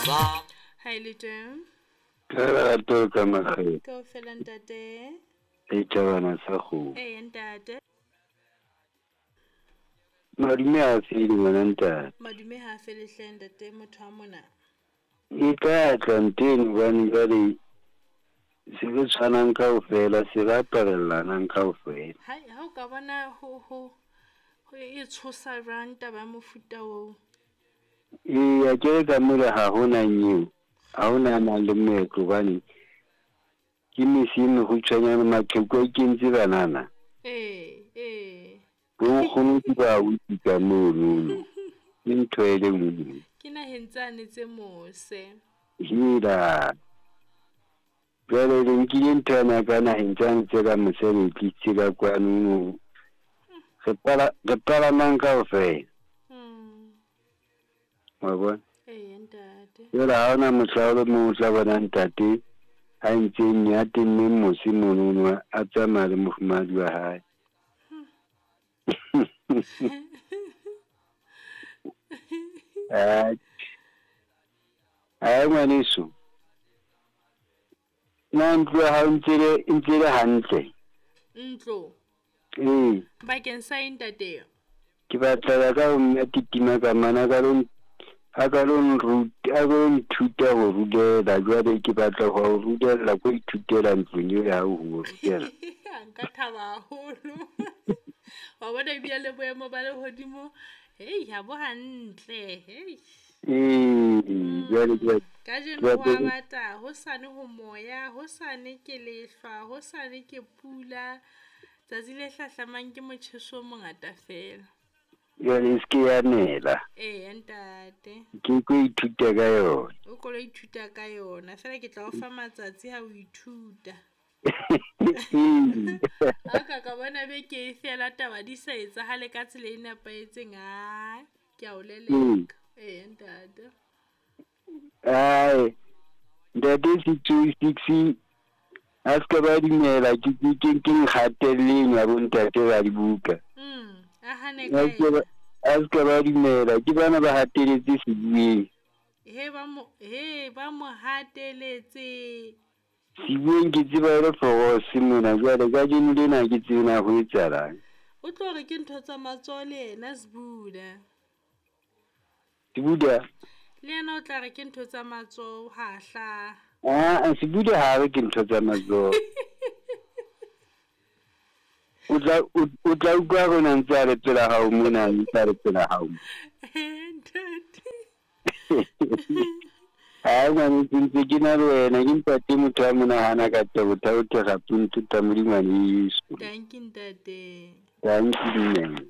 Ha e le teng. Ka lerato ka makgethe. Kaofela ntate. Le tjhabana sa kgomo. Ee ntate. Madume ha a fele ngwana ntate. Madume ha a fele hle ntate motho wa mona. E tla tla nteno hobane jwale se re tshwanang kaofela, se re aparellanang kaofela. Hai, ha o ka bona ho ho ho e tshosa jwang taba ya mofuta oo. Ee, akere ka mole ha hona nyeo, ha hona a nang le moetlo hobane ke mese e mekgutshwanyane, maqheku a ikentse banana. Ee, ee. Bo nkgono ke ba utlwi ka monono. Ke ntho e le nngwe. Ke naheng tsane tse mose. Hela. Jwale le nkile ntho yana ka naheng tsane tse ka mose le e tlisitse ka kwano. Re pala re palamang kaofela. Wa bona? Ee ntate. Jwale ha hona mohla o le mong o tla bona ntate a ntse nne a tenneng mose monono a tsamaya le mofumahadi wa hae. Atjhe. Ae ngwaneso. Na ntlo ya hao ntse le ntse le hantle? Ntlo. Ee. Bakeng sa eng ntate? Ke batla ya ka ho mme titima ka mana ka lo a ka lo nruta a lo nthuta ho rulela jwale ke batla ho o rulella ko ithutela ntlong eo ya hao ho rutela. Nka thaba haholo. Wa bona ebile le boemo ba lehodimo, hei ha bo hantle, hei. Ee, jwale ke Kajeno ho a bata, hosane ho moya, hosane ke lehlwa, hosane ke pula, tsatsi le hlahlamang ke motjheso o mongata fela. Jwale e se ke ya nela. Ee ntate. Ke tlo ithuta ka yona. O ko lo ithuta ka yona, feela ke tla o fa matsatsi ha o ithuta. Ha o ka ka bona beke e fela taba di sa etsahale ka tsela e nepahetseng, aa ke a o leleka. Ee ntate. Ae, ntate 626 a se ka ba dumela ke ke ke ke nkgatelleng ya bo ntate ba dibuka. A hane ka ena. A se ka ba dumela ke bana ba hateletse Sebueng. He ba mo he ba mo hateletse. Sebueng ke tseba e le forose mona jwale kajeno lena ha ke tsebe na ho etsahalang. O tlo re ke ntho tsa matsoho le yena Sbuda. Sebuda? Le yena o tla re ke ntho tsa matsoho ha hlaha. Aa, Sebuda ha re ke ntho tsa matsoho. O tla o tla utlwa rona ntse a le pela hao mona ntse a le pela hao. Ntate. Hai ngwaneso ntse ke na le wena ke ntate motho a monahana ka tebo thaothe gape nthuta Modimo ngwaneso. Dankie ntate. Dankie mme.